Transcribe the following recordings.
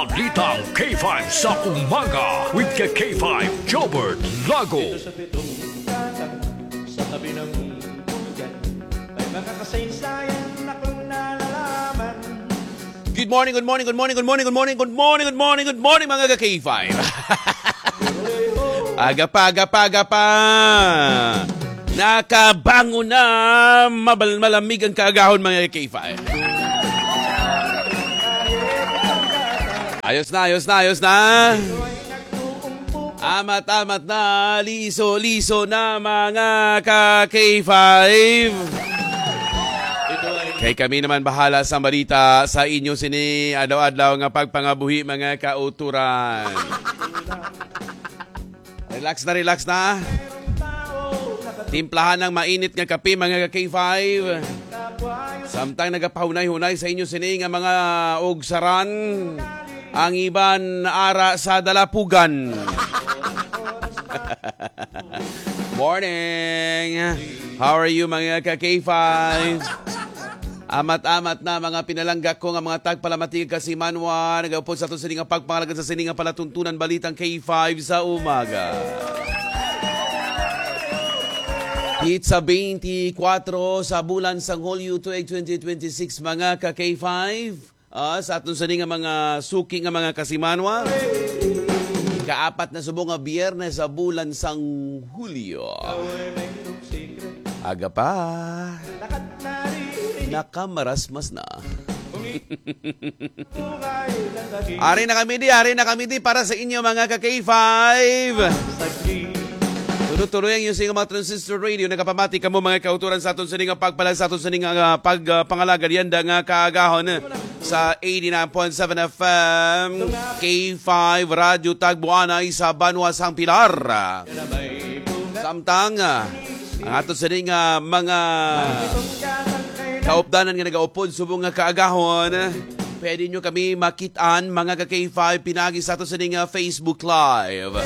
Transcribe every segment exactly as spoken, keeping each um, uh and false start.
Balitang K five sa umaga with ka K five Jobert Lago. Dito sa pitong gatang, sa tabi ng duyan, may mga kasaysayan akong nalalaman. Good morning, good morning, good morning, good morning, good morning, good morning, good morning, good morning, mga ka K five. Aga pa, aga pa, aga pa. Nakabangon na, mabal-, malamig ang kaagahon, mga K five. Ayos na, ayos na, ayos na. Amat-amat na, liso-liso na, mga ka K five. Kay kami naman bahala sa balita sa inyo sini adlaw-adlaw nga pagpangabuhi, mga kauturan. Relax na, relax na. Timplahan ng mainit nga kape, mga ka K five. Samtang nagapahunay-hunay sa inyo sini nga mga ugsaran, ang iban ara sa dalapugan. Morning. How are you, mga ka K five? Amat-amat na, mga pinalangga ko nga mga tagpalamati kag kasimanwa, nagaupod sa ato sini nga pagpangalagad sa sini nga palatuntunan, balitang K five sa umaga. Pizza twenty-four sa bulan sang Hulyo tuig twenty twenty-six, mga ka K five. Ah, sa aton sini nga mga suki nga mga kasimanwa, ikaapat na subong nga biyernes sa bulan sang Hulyo. Aga pa. Nakamarasmas na. Ari na kami di, ari na kami di para sa inyo, mga ka K five. Tuloy-tuloy ang using mga transistor radio. Nagapamati kamo, mga kauturan, sa aton sini nga pagpalag, sa aton sini nga, ah, pag, ah, pangalagad yanda nga kaagahon sa eighty-nine point seven F M, K five Radyo Tagbuanay sa Banwa sang Pilar. Samtang, ah, ang ato sini nga mga kaupdanan nga nagaupod subong nga kaagahon, pwede nyo kami makit-an, mga ka K five, pinagi sa ato sini nga Facebook Live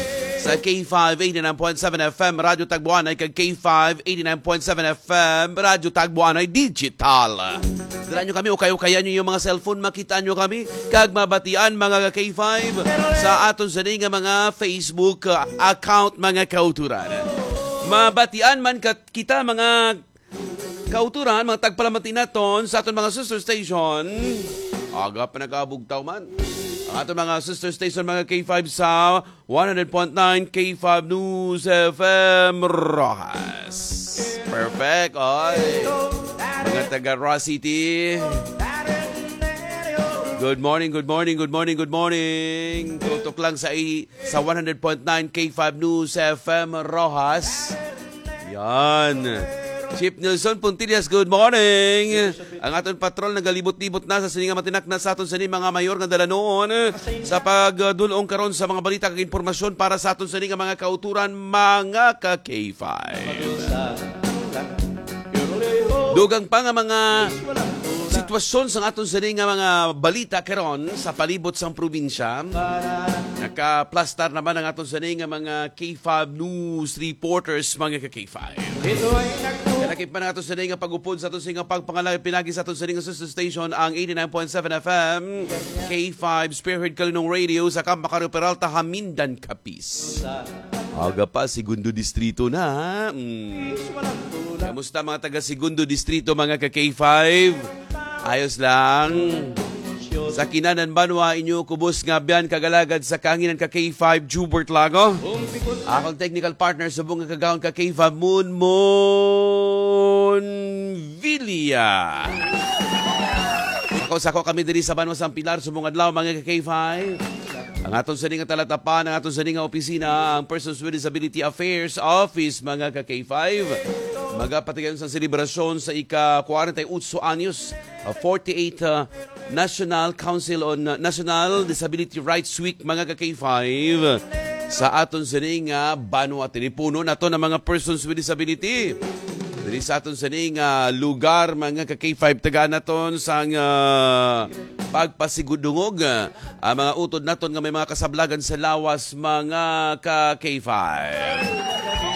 sa K five eighty-nine point seven F M Radyo Tagbuanay kag K five eighty-nine point seven F M Radyo Tagbuanay Digital. Dala nyo kami, ukay-ukayan nyo yung mga cellphone, makita nyo kami, kag mabatian, mga ka K five, sa aton sini nga mga Facebook, uh, account, mga kauturan. Mabatian man kat-, kita, mga kauturan, mga tagpalamati naton sa aton mga sister station. Aga pa nagabugtaw man. Ang aton mga sister station, mga K five, sa one hundred point nine K five News F M Roxas. Perfect, oy. Mga taga Roxas City. Good morning, good morning, good morning, good morning. Tutok lang sa i-, sa one hundred point nine K five News F M Roxas. Yan. Chief Nelson Puntillas, good morning. Ang aton patrol nagalibot-libot na sa sini nga matinakna sa aton sini mga mayor nga dalanon sa pagdulong karon sa mga balita kag impormasyon para sa aton sini nga mga kauturan, mga ka K five. Dugang pa nga mga sitwasyon sa aton sini nga mga balita karon sa palibot sang probinsya. Nakaplastar naman ang aton sini nga mga K five news reporters, mga ka K five. Kalakip man ang ato sa nga pag-upod sa ato sa nga pagpangalagad pinagi sa ato sa nga sister station, ang eighty-nine point seven F M, K five Spearhead Kalinong Radio sa Kampa Carro Peralta, Hamindan, Capiz. Aga pa, Segundo Distrito na. Mm. Kamusta, mga taga Segundo Distrito, mga ka K five? Ayos lang. Sa Kinanan Banwa, inyo kubos nga biyan kagalagad sa kahanginan ka K five, Jubert Lago. Akong technical partner subong nga kagahon ka K five, Moon Moon Villa. Ako, sako kami diri sa Banwa sang Pilar, subong adlaw, mga ka K five. Ang aton sini nga talatapan, ang aton sini nga opisina, ang Persons with Disability Affairs Office, mga ka K five. Magapatigayon sa selebrasyon sa ika-forty-eight anyos, uh, forty-eight, uh, National Council on, uh, National Disability Rights Week, mga ka K five. Sa aton sini nga banwa, tinipuno nato ng mga persons with disability. Diri sa aton sini nga lugar, mga ka K five, tagaan naton sang, uh, pagpasigudungog, uh, ang mga utod naton nga may mga kasablagan sa lawas, mga ka K five.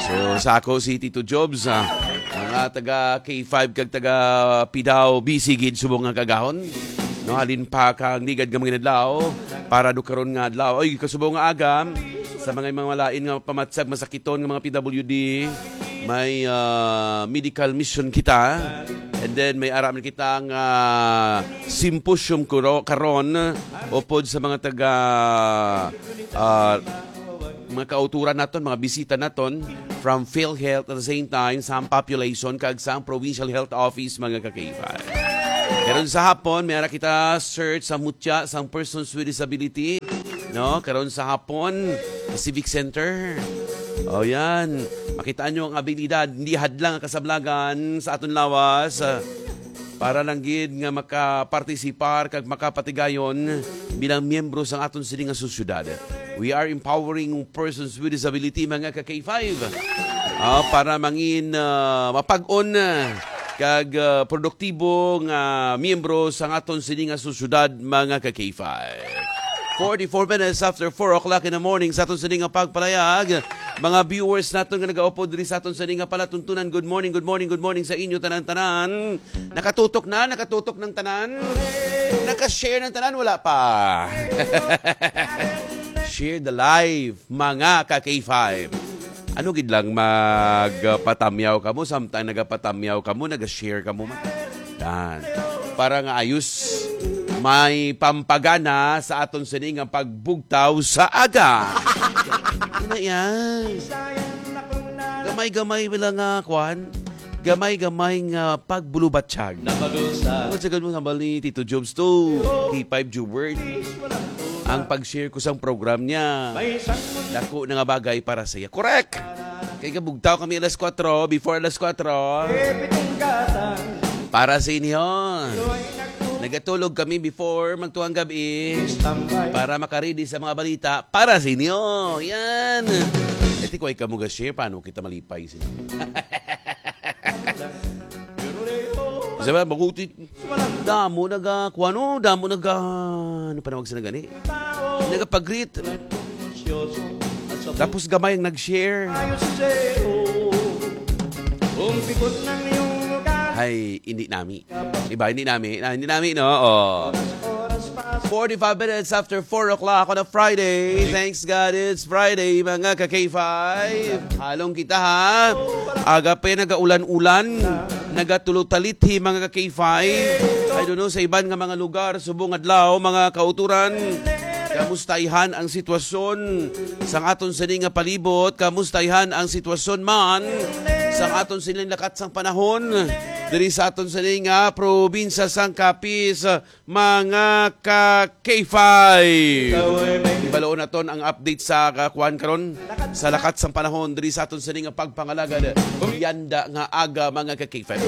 So, sa ako si Tito Jobs, ah, mga taga K five kag taga Pidao, busy gid subong nga kagahon. No, halin pa kang ligad nga mga adlaw para do karon nga adlaw. Oy, kasubo nga aga sa mga, mga malain nga pamatsag masakiton nga mga P W D, may ah, medical mission kita. And then may ara man kita nga symposium kuro- karon upod sa mga taga ah, mga kauturan naton, mga bisita naton from PhilHealth, at the same time sa population kag sa provincial health office, mga ka-K five. Karon sa hapon, may ara kita search sa mutya sang persons with disability, no? Karon sa hapon, sa Civic Center. O yan, makita nyo ang abilidad, hindi hadlang ang kasablagan sa aton lawas. Para lang gid nga makapartisipar kag makapatigayon bilang miyembro sang aton sini nga sosyedad. We are empowering persons with disability, mga ka-K five, ah, para mangin ah, mapag-on ah, kag ah, produktibo nga miyembro sang aton sini nga sosyedad, mga ka-K five. Forty-four minutes after four o'clock in the morning sa aton sini nga pagpalayag. Mga viewers naton nga nagaupod diri sa aton sini nga palatuntunan, good morning, good morning, good morning sa inyo tanan-tanan. Nakatutok na, nakatutok ng tanan. Naka-share ng tanan, wala pa. Share the live, mga ka-K five. Ano gid lang magpatamyaw kamo, samtang nagapatamyaw kamo, naga-share kamo man. Yan. Para nga ayos, may pampagana sa aton sini nga pagbugtaw sa aga. Ano yan? Gamay-gamay lang nga, kwan. Gamay-gamay nga pagbulubatyag. Napadusa. Ang sagal mo, hambal ni Tito Jobs to, K five Jubert. Ang pag-share ko sang program niya, dako na nga bagay para sa iya. Correct! Kay kabugtaw kami alas kwatro, before alas kwatro. Para sa inyo. Nagatulog kami before magtuang gabi para makaredy sa mga balita para sa inyo. Yan. E, ti kuway ka mo ga-share, paano kita malipay sila? Sabi, maguti. Damo naga, kuwano, damo naga, ano pa nawag sa nagani? Nagapag-greet. Tapos gamay ang nag-share. Ay, hindi nami. Diba? Hindi nami. Ah, hindi nami, no? Oh. Forty-five minutes after four o'clock on a Friday. Thanks God it's Friday, mga ka-K five. Halong kita, ha? Aga pa, nagaulan-ulan. Nagatulutalithi, mga ka-K five. I don't know, sa iban nga mga lugar, subong adlaw, mga kauturan. Kamusta ihan ang sitwasyon sang aton sini nga palibot? Kamusta ihan ang sitwasyon man sang aton sining lakat sang panahon diri sa aton sini nga probinsya sang Capiz, mga ka-K five? Ibaloon naton ang update sa kakuan karon sa lakat sang panahon diri sa aton sini nga pagpangalagad. Yanda nga aga, mga ka-K five.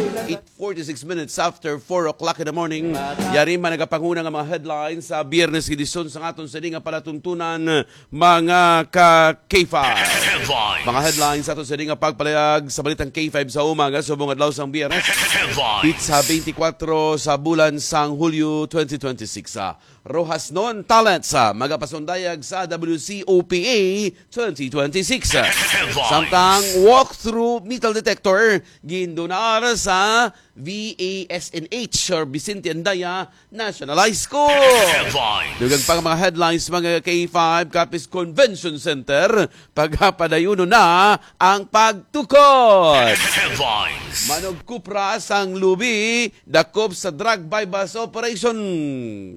Forty-six minutes after four o'clock in the morning. Yari man nagapanguna nga mga headlines sa Biyernes edisyon sa aton sini nga palatuntunan, mga ka-K five. Headlines. Mga headlines sa aton sini nga pagpalayag sa balitang K five sa umaga, subong adlaw sang Biyernes. Headlines. Pizza twenty-four sa bulan sang Hulyo twenty twenty-six. Ah, Rojas Non Talents, ah, magapasundayag sa W C O P A twenty twenty-six. Headlines. Samtang walkthrough metal detector gindunar sa V A S N H or Vicente Andaya National High School. Headlines. Dugang pang mga headlines, mga K five, Capiz Convention Center, pagapadayon na ang pagtukod. Headlines. Manugkupra sang lubi, dakop sa drug buy-bust operation.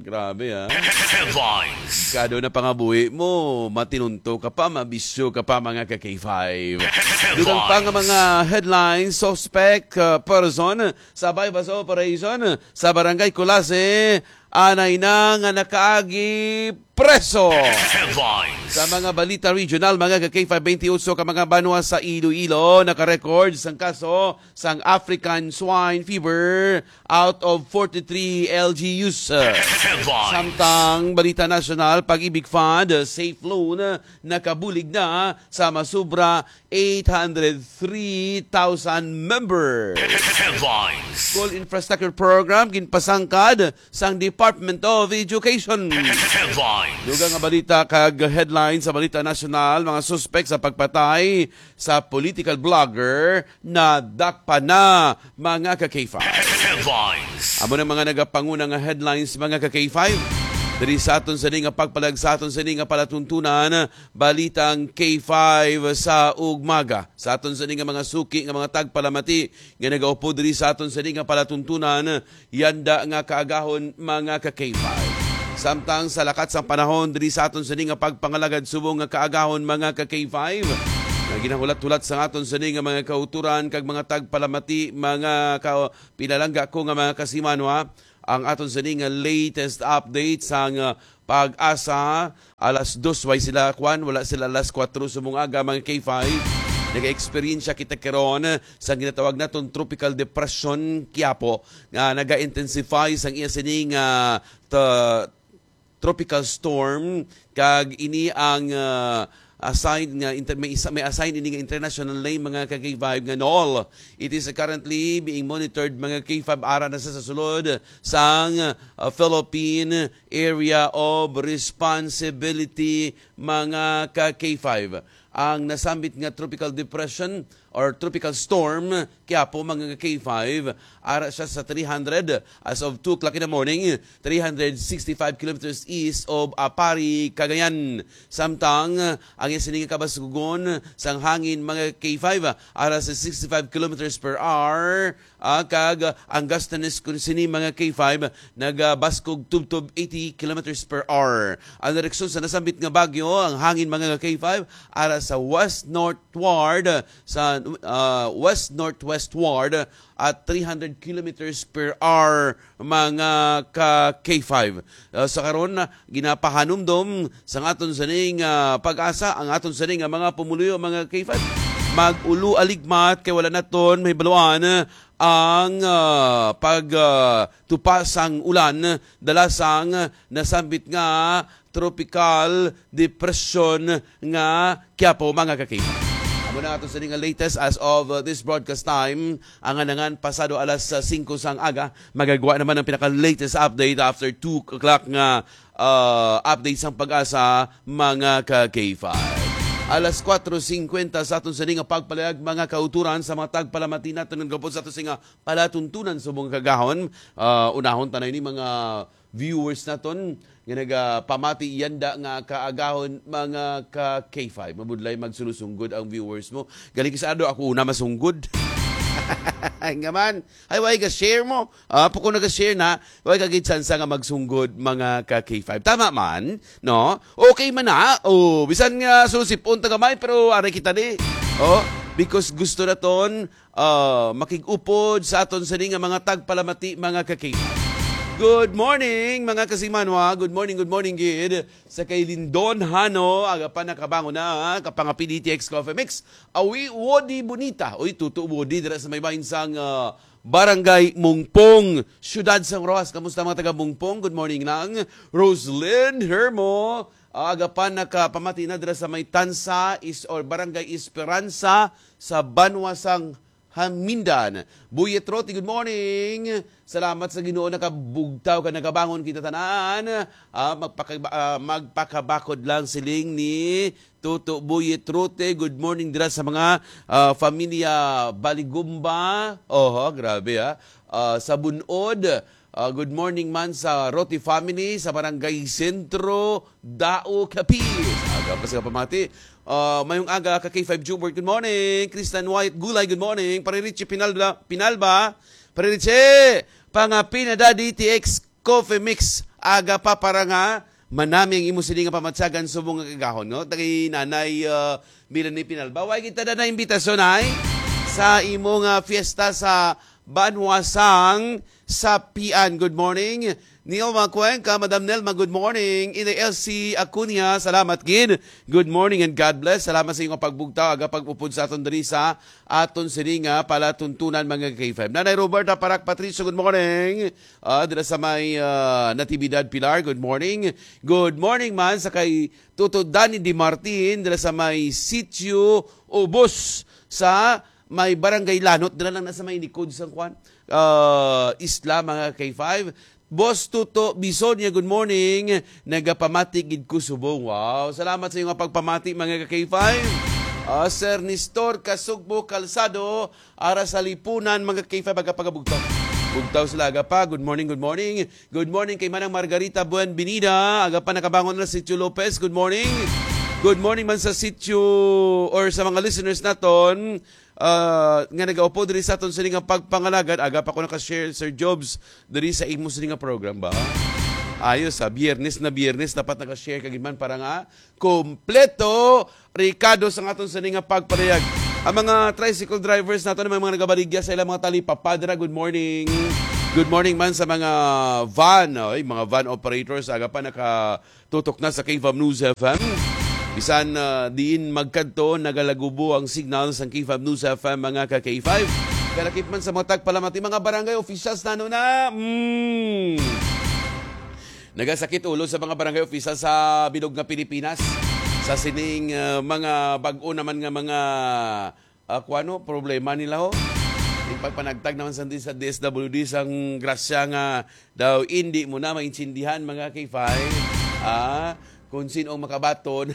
Grabe, ah. Headlines. Kado na pangabuhi mo, matinunto ka pa, mabisyo ka pa, mga ka-K five. Headlines. Dugang pa nga mga headlines, suspect, uh, person sa buy-bust operation sa Barangay Culasi, anay na nga nakaagi preso. Headlines. Sa mga balita regional, mga ka-K five, twenty-eight ka mga banwa sa Iloilo naka-record sang kaso sang African Swine Fever out of forty-three L G Us. Headlines. Samtang balita nasyonal, Pag-ibig Fund, uh, safe loan, uh, nakabulig na sa masubra eight hundred three thousand members. Headlines. School Infrastructure Program ginpasangkad sang Department Department of Education. Headlines. Dugang nga balita kag headlines sa balita nasyonal, mga suspek sa pagpatay sa political blogger na dakpa na, mga ka K five. Headlines. Amo na mga nagapanguna nga headlines, mga ka K five. Diri sa aton sini nga pagpalag sa aton sini nga palatuntunan, balitang K five sa ugmaga. Sa aton sini nga mga suki nga mga tagpalamati nga nagaupod diri sa aton sini nga palatuntunan, yanda nga kaagahon, mga ka K five. Samtang sa lakat sang panahon diri sa aton sini nga pagpangalagad subong nga kaagahon, mga ka K five, nga ginahulat-hulat sa aton sini nga mga kauturan kag mga tagpalamati, mga ka, pinalangga ko nga mga kasimanwa, ang aton sini nga latest update sang, ah, Pag-asa, alas dos way sila, kwan, wala sila alas kuwatro subong aga, mga K five. Nag-eksperyensya kita karon sa ginatawag naton Tropical Depression Quiapo nga naga-intensify sang iya sining, ah, ta-, tropical storm, kag ini ang, ah, assign nga inter-, may isa, may assign ini nga international name, mga ka K five, nga Nol. It is currently being monitored, mga K five, ara na sa, sa sulod sang, ah, Philippine Area of Responsibility, mga ka K five. Ang nasambit nga tropical depression or tropical storm, Quiapo, mga ka K five, ara siya sa three hundred as of two o'clock in the morning, three hundred sixty-five kilometers east of Aparri, Cagayan. Samtang ang iya sini nga kabaskugon sang hangin, mga K five, ara sa sixty-five kilometers per hour, ah, kag ang gustfulness kun sini, mga K five, nagabaskog tubtob eighty kilometers per hour. Ang direksyon sa nasambit nga bagyo, ang hangin, mga K five, ara sa west-northward, sa, ah, west-northwestward at three hundred kilometers per hour, mga ka K five. Ah, sa karon, ginapahanumdom sang aton sining, ah, Pag-asa ang aton sining nga mga pumuluyo, mga K five. Mag-ulo aligmat kay wala naton mahibaluan ang, ah, pag, ah, tupa sang ulan dala sang nasambit nga tropical depression nga Quiapo, mga ka K five. Amo na ato sini nga latest as of, uh, this broadcast time. Ang anangan pasado alas, uh, singko sang aga, magagwa naman ang pinaka-latest update after two o'clock nga, uh, update sang Pag-asa, mga ka K five. Alas kuwatro singkwenta sa aton sini nga pagpalayag, mga kauturan, sa mga tagpalamati naton nga gapon sa ato sini nga palatuntunan subong kagahon. Uh, unahon ta na ini, mga viewers naton nga nagapamati, yanda nga kaagahon, mga ka K five. Mabudlay magsulosunggod ang viewers mo. Galing sa ado, ako una masunggod. Nga man, ay, why ka share mo? Ah, pag ko naga-share na, why ka gid sansa nga magsunggod, mga ka K five? Tama man, no? Okay man na. Oh, bisan nga susipon ta gamay, pero aray kita ni. Oh, because gusto naton ah, makig-upod sa aton sini nga mga tagpalamati, mga ka-K five. Good morning, mga kasimanwa. Good morning, good morning, gid. Sa kay Lindon Hano, aga pa nakabangon na, ha? Kapangapili T X Coffee Mix. Awi, Wodi Bonita. Uy, tuto, Wodi, dira sa may bahin sang, ah, Barangay Mungpong, Siyudad sang Roxas. Kamusta, mga taga Mungpong? Good morning lang. Roslyn Hermo, aga pa nakapamati na dira sa may Tansa is, or Barangay Esperanza sa banwa sang Hamindan. Buyet Roti, good morning. Salamat sa Ginoo, nakabugtaw ka, nakabangon kita tanan. Ah, magpaka-, ah, magpakabakod lang, siling ni Tuto Buyet Roti. Good morning dira sa mga, ah, familia Baligumba. Oho, grabe, ah. Ah, sa Bunod. Ah, good morning man sa Roti family sa Barangay Sentro, Dao, Capiz. Aga pa sa pamati. Ah, mayong aga ka K five Jubert. Good morning. Kristan Wyatt Gulay, good morning. Pare Richie Pinalba, Pinalba. Pare Richie, pangapi na da D T X Coffee Mix. Aga pa para nga manami ang imo sini nga pamatsagan subong nga kagahon, no? Tagay Nanay, ah, Melanie Pinalba. Wa kita na na imbitasyon, ay, sa imo nga fiesta sa Banwa sang Sapian. Good morning, Neil Macuenca, Madam Nelma, good morning. Inday Elsie Acuña, salamat gid. Good morning and God bless. Salamat sa inyong pagbugtaw, aga pag-upod sa aton diri sa aton sini nga palatuntunan, mga K five. Nanay Roberta Parak Patricio, good morning. Ah, dira sa may, ah, Natividad Pilar, good morning. Good morning man sa kay Tuto Danny Di Martin, dira sa may Sitio Ubos sa may Barangay Lanot, dira lang na sa may likod sa kwan, ah, isla, mga K five. Boss Tuto Bisonia, good morning. Nagapamati gid ko subong. Wow, salamat sa inyong pagpamati, mga ka K five. Ah, Sir Nestor Kasugbo Calzado, ara sa Lipunan, mga ka K five, aga pa, bugtaw. Bugtaw sila, aga pa. Good morning, good morning. Good morning kay Manang Margarita Buenvenida, aga pa, nakabangon na si Tio Lopez. Good morning. Good morning man sa sitio or sa mga listeners naton, ah, nga nagaupo diri sa aton sini nga pagpangalagad. Aga pa ko naka-share, Sir Jobs, diri sa imo sini nga program ba? Ayos, ha? Biyernes na Biyernes, dapat naka-share ka gid man para nga kompleto rekado sa aton sini nga pagpanayag. Ang mga tricycle drivers nato, may mga nagabaligya sa ilang mga tali, papadra, good morning. Good morning man sa mga van, oy, mga van operators, aga pa nakatutok na sa K five News F M. Bisan, ah, diin magkadto, nagalagubo ang signal sa K five News F M, mga ka K five. Kalakip man sa mga tagpalamati, mga barangay officials nano na. Mm. Nagasakit ulo sa mga barangay official sa bilog nga Pilipinas. Sa sining, ah, mga bag-o naman nga mga, ah, kuwano, problema nila, ho. Yung pagpanagtag naman sa, sa D S W D, sang grasya nga daw hindi mo na maintindihan, mga K five, ah, kung sino ang makabaton.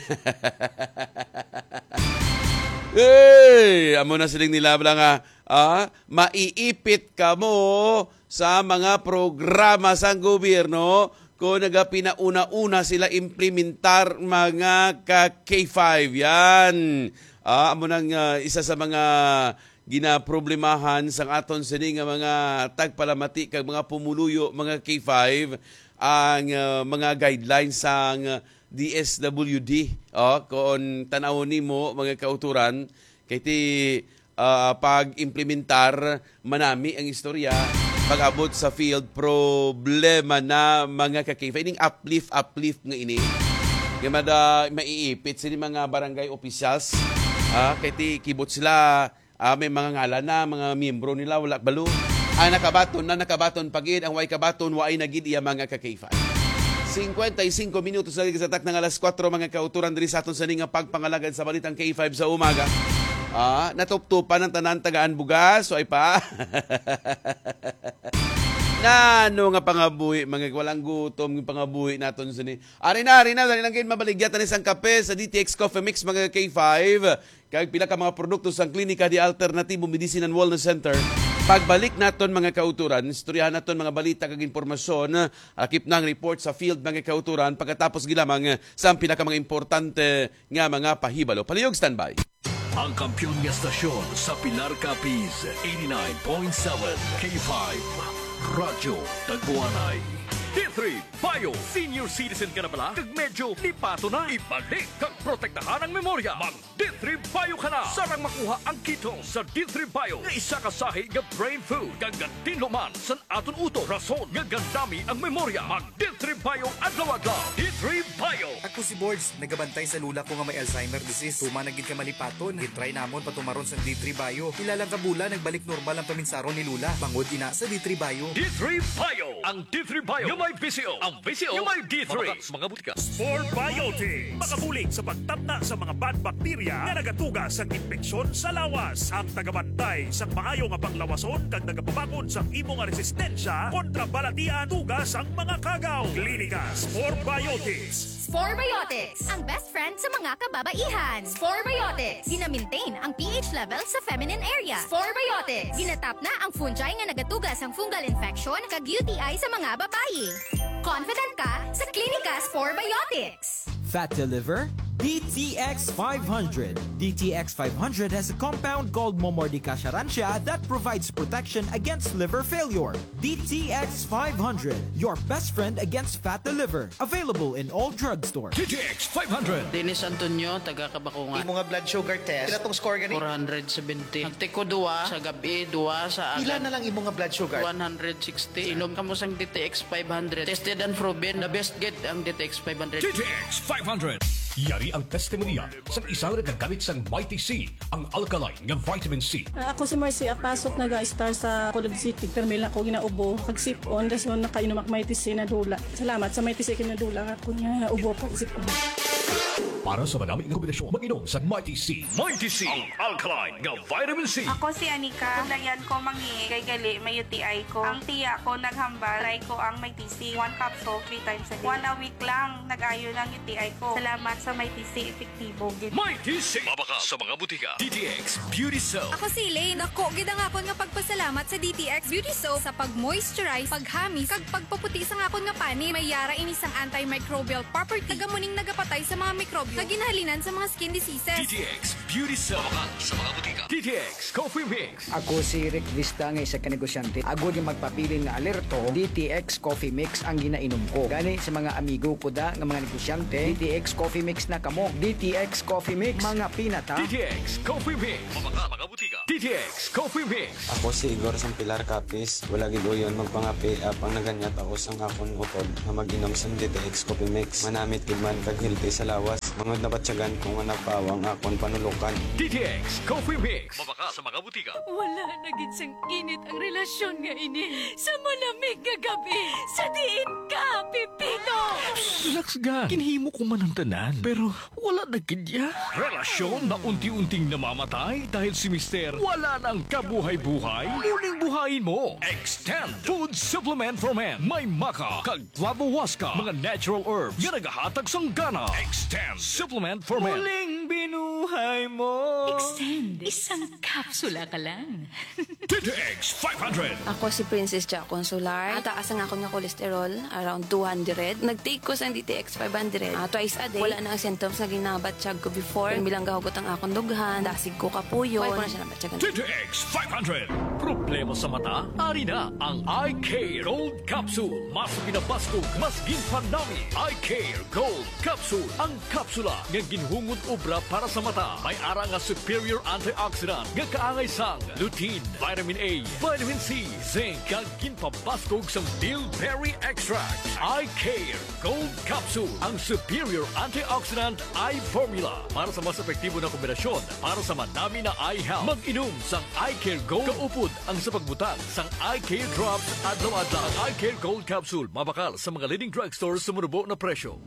Hey! Amo na siling nila bala nga, ah, maiipit kamo sa mga programa sang gobyerno kung nagapinauna-una sila implementar, mga ka K five. Yan. Ah, amo nang, ah, isa sa mga ginaproblemahan sang aton sini nga mga tagpalamati kag mga pumuluyo, mga K five, ang, ah, mga guidelines sang D S W D. Oh, kung tanawon nimo, mga kauturan, kay ti, ah, pag-implementar, manami ang istorya. Pag-abot sa field, problema na, mga ka-K five. Ining uplift, uplift nga ini. Nga mada, maiipit sini mga barangay officials. Ah, kay ti kibot sila, ah, may mga ngalan na, mga miyembro nila, wala balo. Ang nakabaton na, nakabaton pa gid. Ang way kabaton, waay na gid iya, mga ka-K five. Cincuenta y cinco minutos na gid sa takna nga alas kuwatro, mga kauturan, diri sa aton sini nga pagpangalagad sa Balitang K five sa umaga. Ah, natuptupan ang tanan, tagaan bugas, way pa. Nano nga pangabuhi, mga walang gutom, yung pangabuhi naton sini. Ari na, ari na, dali lang kayo mabaligya, tanis ang kape sa D T X Coffee Mix, mga K five. Kag pila ka mga produkto sang Klinika de Alternatibo Medicine and Wellness Center. Pagbalik naton, mga kauturan, istoryahan naton mga balita kag impormasyon, lakip na ang report sa field, mga kauturan, pagkatapos gid lamang sa ang pila ka mga importante nga mga pahibalo. Palihog, standby. Ang kampiyon nga stasyon sa Pilar, Capiz, eighty-nine point seven K five, Radyo Tagbuanay. D three Bio. Senior citizen ka na bala? Kag medyo lipato na? Ibalik kag protektahan ang memorya. Mag D three Bio ka na. Sarang makuha ang ketone sa D three Bio nga isa ka sahi nga brain food kag gatinlo man sa aton utok, rason nga gandami ang memorya. Mag D three Bio adlaw-adlaw. D three Bio. Ako si Borge, nagabantay sa lola ko nga may Alzheimer disease. Tuman na gid ka malipaton. Gitry namon patumaron sa D three Bio. Pila lang ka bulan, nagbalik normal ang paminsaron ni lola. Bangod ina sa D three Bio. D three Bio. Ang D three Bio nga may V C O. Ang V C O nga may D three. Mabakas mga butika. Spore Biotics. Makabulig sa pagtapna sa mga bad bacteria nga nagatuga sa impeksyon sa lawas. Ang tagabantay sang maayo nga panglawason kag nagapabangon sang imo nga resistensya kontra balatian tuga sang mga kagaw. Klinika Spore Biotics. Spore Biotics, ang best friend sa mga kababaihan. Spore Biotics, gina-maintain ang P H level sa feminine area. Spore Biotics, ginatapna ang fungi nga nagatuga sang fungal infection kag U T I sa mga babayi. Confident ka sa Klinika Spore Biotics. Fat to liver? D T X five hundred. D T X five hundred has a compound called Momordica charantia that provides protection against liver failure. D T X five hundred, your best friend against fat to liver. Available in all drugstores. D T X five hundred. Dennis Antonio, taga Kabakungan. Imo nga blood sugar test, pila tong score gani? Four hundred seventy. Nagtiko duwa sa gabi, duwa sa Pila agad. Na lang imo nga blood sugar? One hundred sixty. Inom kamo sang D T X five hundred. Tested and proven, the best gid ang D T X five hundred. D T X five hundred. Yari ang testimonya sang isa nga nagagamit sang Mighty C, ang alkaline nga vitamin C. Ah, ako si Marcy Apasok, naga-star sa Colod City. Pero may lang ako ginaubo, pag sipon, dason nakainom ako Mighty C, nadula. Salamat sa Mighty C, kinadula nga ako nga ubo, pag sipon. Para sa manami nga kombinasyon, mag-inom sa Mighty C. Mighty C, ang alkaline nga vitamin C. Ako si Anika. Sulayan ko mangi kay gali may U T I ko. Ang tiya ko naghambal, try ko ang Mighty C. One capsule, three times a day. One a week lang, nag-ayo ng U T I ko. Salamat sa Mighty C, epektibo gid. Mighty C. Mabakal sa mga butika. D T X Beauty Soap. Ako si Elaine. Dako gid ang akon nga pagpasalamat sa D T X Beauty Soap sa pag-moisturize, paghamis, kag pagpaputi sang akon nga panit. May yara ini sang antimicrobial property. Taga mo ning nagapatay sa mga mikrobyo nga ginahalinan sa mga skin diseases. D T X Beauty Soap. Mabakal sa mga butika. D T X Coffee Mix. Ako si Rick Vista nga isa ka negosyante. Agod nga magpabilin nga alerto, D T X Coffee Mix ang ginainom ko. Gani sa mga amigo ko da nga mga negosyante, D T X Coffee Mix na kamo. D T X Coffee Mix, mga pinata. D T X Coffee Mix. Mabakal sa mga butika. D T X Coffee Mix. Ako si Igor sang Pilar Capiz. Wala gid uyon magpangapi apang naganyat ako sang akon utod nga mag-inom sang D T X Coffee Mix. Manamit gid man kag healthy sa lawas. Mangod nabatyagan ko nga napawa ang akon panulukan. D T X Coffee Mix. Mabakal sa mga butika. Wala na gid sang init ang relasyon nga ini sa malamig nga gabi. Sa diin ka, Pipito? Relax, ga. Ginhimo ko man ang tanan, pero wala na gid ya. Relasyon na unti-unting namamatay dahil si Mister wala nang kabuhay-buhay. Muling buhayin mo. Extend Food Supplement for Men. May maca kag flavohuasca, mga natural herbs nga nagahatag sang gana. Extend Supplement for Men. Muling binuhay mo. Extend. Isang kapsula ka lang. D T X five hundred. Ako si Princess Ja Consular. Taas ang akon nga cholesterol, around two hundred. Nag-take ko sang D T X five hundred, ah, twice a day. Wala na ang symptoms nga ginabatyag ko before. Pirmi lang gahugot ang akon dughan, dasig ko kapuyon. Wala ko na siya nabatyagan. D T X five hundred. Problema sa mata? Ari na ang Eye Care Gold Capsule. Mas pinabaskog, mas ginpanami. Eye Care Gold Capsule. Ang kapsula nga ginhungod obra para sa mata. May ara nga superior antioxidant nga kaangay sang lutein, vitamin A, vitamin C, zinc, kag ginpabaskog sang bilberry extract. Eye Care Gold Capsule, ang superior antioxidant eye formula para sa mas epektibo na kombinasyon para sa manami na eye health. Mag-inom sang Eye Care Gold kaupod ang sa pagbutang sang Eye Care Drops adlaw-adlaw. Ang Eye Care Gold Capsule mabakal sa mga leading drugstore sa manubo na presyo.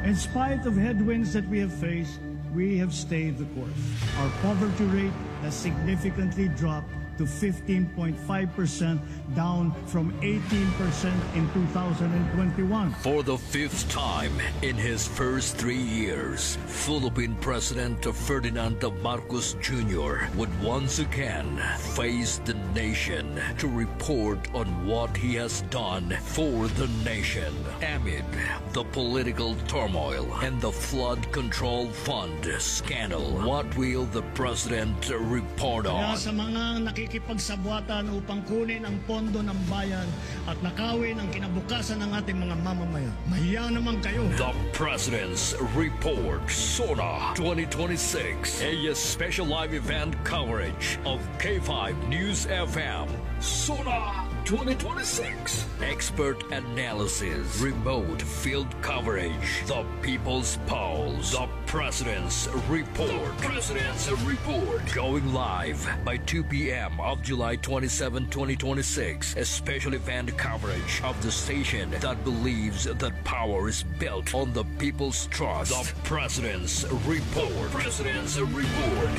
In spite of headwinds that we have faced, we have stayed the course. Our poverty rate has significantly dropped to fifteen point five percent, down from eighteen percent in two thousand twenty-one. For the fifth time in his first three years, Philippine President Ferdinand Marcos Junior would once again face the nation to report on what he has done for the nation amid the political turmoil and the flood control fund scandal. What will the president report on? Kaya sa mga nakikipagsabwatan upang kunin ang pondo ng bayan at nakawin ang kinabukasan ng ating mga mamamayan, mahiya naman kayo. The President's Report, SONA twenty twenty-six, a special live event coverage of K five News F M. SONA twenty twenty-six. Expert analysis, remote field coverage, the People's Pulse, the President's Report. President's Report. Going live by two p.m. of July twenty-seven, twenty twenty-six. A special event coverage of the station that believes that power is built on the people's trust. The President's Report. President's Report.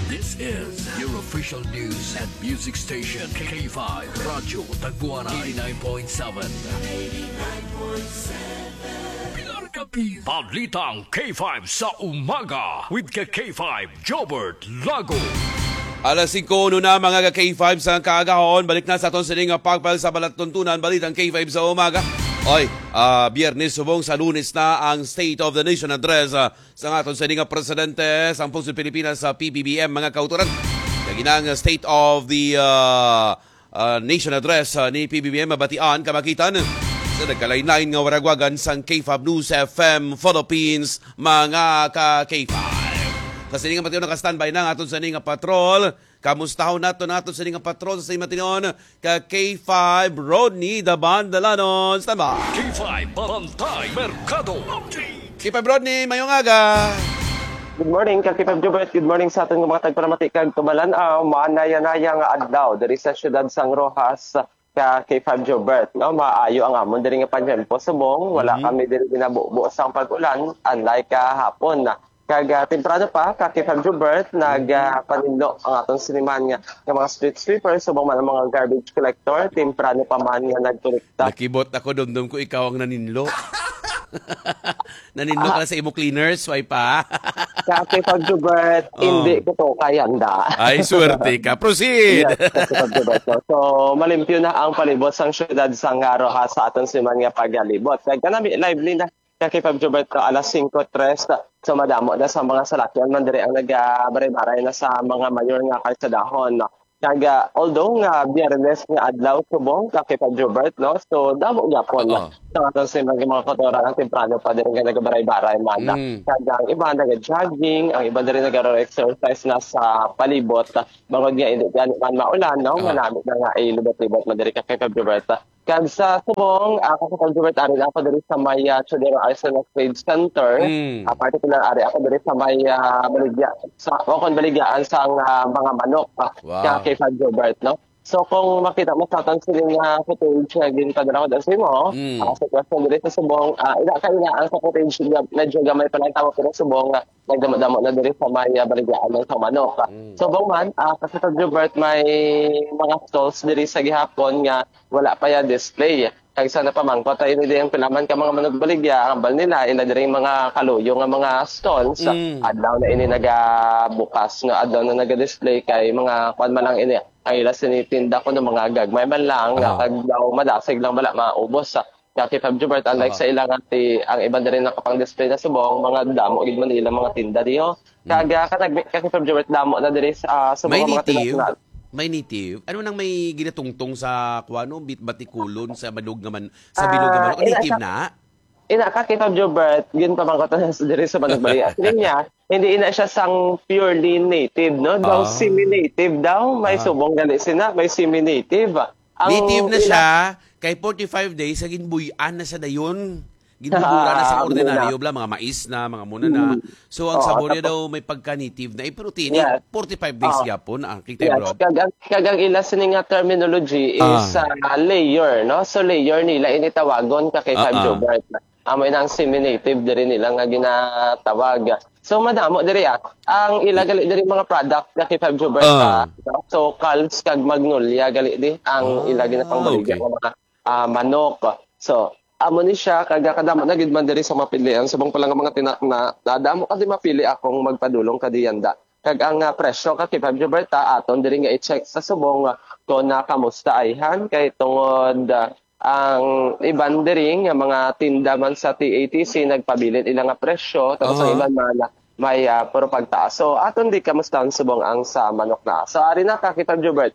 This is your official news and music station, K five Radyo Tagwanay, eighty-nine point seven. Balitang K five sa umaga with ka K five Jobert Lago. Alas singko na, mga ka K five sa kaagahon. Balik na sa aton sini nga pagpal sa balatuntunan, Balitang K five sa umaga. Oy, ah, Biyernes subong sa Lunes na ang State of the Nation Address, ah, sa aton sini nga presidente sang Pulso Pilipinas sa P B B M, mga kautoran. Lagi na ang State of the, ah, ah, Nation Address, ah, ni P B B M mabatian, kamakitan sa nagkalain-lain nga waragwagan sang K five News F M Philippines, mga ka K five. Sa sini nga matiyon, naka-standby na ang aton sini nga patrol. Kamustahon nato nato sini nga patrol sa sini matiyon, ka K five Rodney Daban Dalanon. Standby. K five Barangay Merkado Update. K five Rodney, mayong aga. Good morning, ka K five Jobert. Good morning sa aton nga mga tagpalamati kag tumalan-aw. Maanaya-naya nga adlaw diri sa siyudad sang Roxas, ka K five Jobert, no? Maayo ang amon diri nga pagtiyempo subong, wala Mhm. kami diri ginabubo sang pag-ulan, unlike kahapon. Kag, ah, temprano pa, ka K five Jobert, nag, Mhm. ah, paninlo ang aton siniman nga, nga mga street sweeper, subong man ang mga garbage collector, temprano pa man nga nagkolekta. Nakibot ako, dumdum ko ikaw ang naninlo. Naninlo ka Ah. na sa imo cleaners, way pa? Sa K five Jobert, Oh. hindi ko to kayanda. Ay, swerte ka. Proceed. Yes, sa K five Jobert, no? So, malimpyo na ang palibot sang syudad sang Roxas sa aton siman nga pagalibot. Kag kanami, lively na. Sa K five Jobert, no, alas singko tres. So, madamo na sa mga salakyan man diri ang nagabaray-baray na sa mga mayor nga kalsadahon, no? Kag, ah, although nga Biyernes nga adlaw subong ka K five Jobert, no? So, damo gyapon Oo. sa aton sa mga, mga kotoran ang temprano pa diri nga nagabaray-baray man. Mm. Kag ang iba naga-jogging, ang iba diri nagaro-exercise na sa palibot. Bangod nga hindi gani man maulan, no? Oo. Manami na nga ilibot-libot man diri ka K five Jobert. Kag sa subong, ah, ka K five Jobert, ari na ako diri sa may, ah, Chodero Arsenal Trade Center. Mm. Ah, particular, ari ako diri sa may, ah, baligya, sa, o kung baligyaan sang, ah, mga manok, ah, Wow. ka K five Jobert, no? So, kung makita mo sa aton sini nga footage nga ginpadala ko diri sa imo, Mm. ah, sa question diri sa subong, ah, ina ka ina ang sa footage, nga medyo gamay pa lang tamo, pero subong, ah, nagdamo-damo na diri sa may, ah, baligyaan lang sa manok. Mm. Subong man, ah, kasi sa Jobert, may mga stalls diri sa gihapon nga wala pa ya display. Kag sa napamangkot tayo ni diyang pilaman ka mga manugbaligya, ang hambal nila, ila diri mga kaluyo nga mga stalls, Mm. adlaw na ini nagabukas, nga adlaw na naga-display kay mga kwan man lang ini. Ang ila sini tinda ko ng mga gagmay man lang, nga Ah. kag daw madasig lang bala maubos sa Kaki Fab Jubert, unlike Aha. sa ila nga ti-, ang iban diri nakapang-display na subong, mga damo gid man ila mga tinda diho. Mm. Kag, ah, kanag-, Kaki Fab Jubert, damo na diri sa, ah, subong May nga mga native? tinatnan. May native? Ano nang may ginatungtong sa, kuwano, bit-, batikulon sa balog nga man-, sa bilog nga Ah, manok? ina Native siya, na? ina ka, Kaki Fab Jubert, ginpamangkot na sa diri sa Manugbaligya. Siling niya, hindi ina siya sang purely native, no? Daw Ah. semi-native daw. May Ah. subong gali sina, may semi-native. Ang Native na ila siya, kay forty-five days, sa ginbuy-an na siya dayon. Ginbubura na sa Ah, ordinaryo, muna. bla, mga mais na, mga muna na. Mm. So, ang Oo, sabor niya tapos daw may pagka-native na. Eh, pero tini, Yes. forty-five days Oo. gyapon, ang kita, Yes, bro. kag ang, kag ang ila sini nga terminology is, Ah. ah, layer, no? So, layer nila ini tawagon ka kay Ah, Fab ah. Jubert. Amo ina ang semi-native diri nila nga ginatawag. So, madamo diri, ah. Ang ila gali diri mga product nga kay Fab Jubert, Ah. ah, so, calves kag magnolia gali di ang ila Ah, ginapangbaligya okay. nga mga, ah, manok. So, amo ni siya, kag kadamo na gid man diri sa mapilian. Subong pa lang ang mga tinakna, nadamo kasi mapili akong magpadulong kadi yanda. Kag ang, ah, presyo ka kay Fab Jubert, ah, aton diri nga i-check sa subong, ah, kung, ah, kamusta ayhan. Kay tungod, ah, ang iban diri nga mga tinda man sa T A T C nagpabilin ila nga presyo, tapos ang Aha. iban man, ah, may, ah, puro pagtaas. So, aton di kamusta ang subong ang sa manok na. So, ari na ka, Kaki Fab Jubert,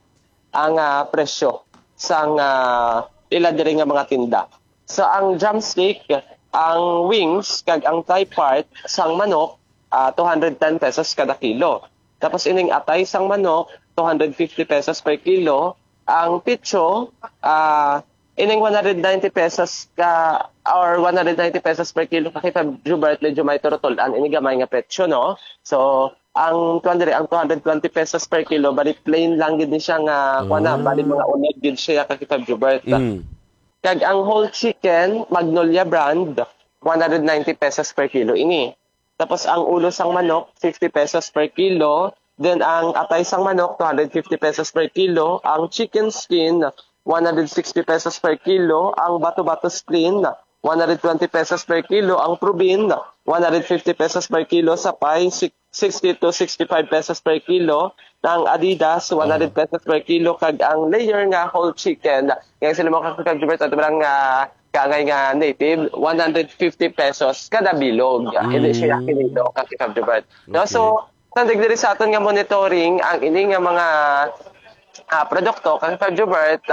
ang, ah, presyo sang, ah, ila diri nga mga tinda. So, ang drumstick, ang wings, kag ang thigh part sang manok, ah, two hundred ten pesos kada kilo. Tapos ining atay sang manok, two hundred fifty pesos per kilo. Ang pitso, ah, ining one hundred ninety pesos ka, or one hundred ninety pesos per kilo ka, Kaki Fab Jubert, medyo may turutulan ini gamay nga petso, no? So, ang kuwan diri, ang two hundred twenty pesos per kilo, bali plain lang gid ni siya nga, kuwan na, bali Ah. mga unod gid siya, Kaki Fab Jubert. Mm. Kag ang whole chicken, Magnolia brand, one hundred ninety pesos per kilo ini. Tapos ang ulo sang manok, fifty pesos per kilo. Then ang atay sang manok, two hundred fifty pesos per kilo. Ang chicken skin, one hundred sixty pesos per kilo. Ang bato-bato spleen, one hundred twenty pesos per kilo. Ang probean, one hundred fifty pesos per kilo. Sa pay, six sixty to sixty-five pesos per kilo, ang Adidas, Ah. one hundred pesos per kilo, kag ang layer nga whole chicken, nga sila mo kakagibert at walang, ah, kangay nga native, one hundred fifty pesos kada bilog. Hindi siya Mm. kinido, kakagibert. No, Okay. so, tandig diri sa aton nga monitoring, ang ini nga mga, ah, produkto, kakagibert,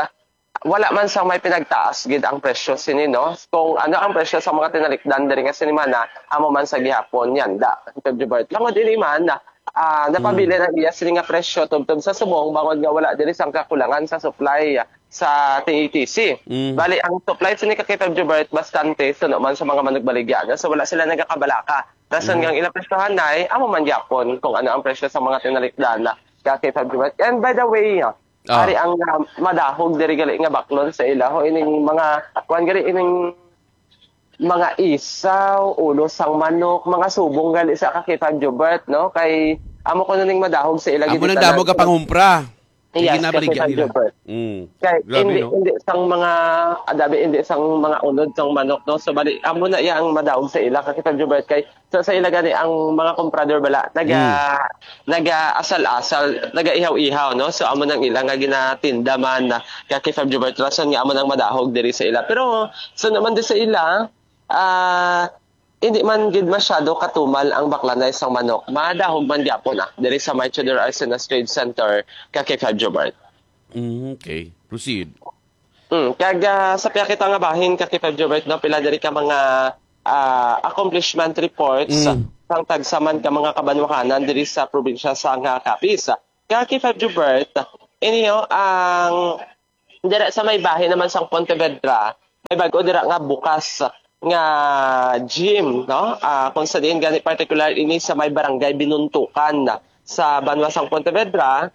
wala man sang may pinagtaas gid ang presyo sini, no? Kung ano ang presyo sa mga tinalikdan diri nga sinimana, amo man sa gihapon, yanda, Kaki Fab Jubert. Langod ini man, ah, napabilin Mm. ang iya sini nga presyo tubtob sa subong, bangod nga wala diri sang kakulangan sa supply sa T A T C. Mm. Bali, ang supply sini, Kaki Fab Jubert, bastante suno man sa mga manugbaligya, no? So, wala sila nagakabalaka. Rason Mm. nga ang ilang presyohan na, eh, amo man gyapon kung ano ang presyo sa mga tinalikdan, Kaki Fab Jubert. And by the way, Ah. Ari ang, ah, madahog diri gali nga baklon sa ila, ho, ining mga, kuwan gali, ining mga isaw, ulo sang manok, mga subong gali sa ka K five Jubert, no? Kay amo ko na ning madahog sa ila. Amo gid nang damo ka pangumpra. Yes, ginabaligya nila. Mm. Kay hindi, no? Hindi sang mga, adabi, hindi sang mga unod sang manok, no? So, bali, amo na iya ang madahog sa ila, ka K five Jubert, kay sa, sa ila gani ang mga comprador bala, naga, Mm. naga-asal-asal, naga-ihaw-ihaw, no? So, amo nang ila nga ginatinda man na, ka K five Jubert, rason nga amo nang madahog diri sa ila. Pero, sa naman di sa ila, ah, hindi man gid masyado katumal ang baklanay sang manok. Madahog man gyapon, ah, diri sa May Theodore Arcenas Trade Center, ka K five Jubert. Mm, okay. Proceed. Mm, kag, ah, sa piyakita nga bahin, ka K five Jubert, no, pila diri ka mga, ah, accomplishment reports Mm. sang tagsa man ka mga kabanwahanan diri sa probinsya sang, ah, Capiz. Ka K five Jubert, inyo ang dira sa may bahin naman sang Pontevedra, may bag-o dira nga bukas nga gym, no? Ah, kung sa diin gani particular ini sa may barangay Binuntukan sa banwa sang Pontevedra,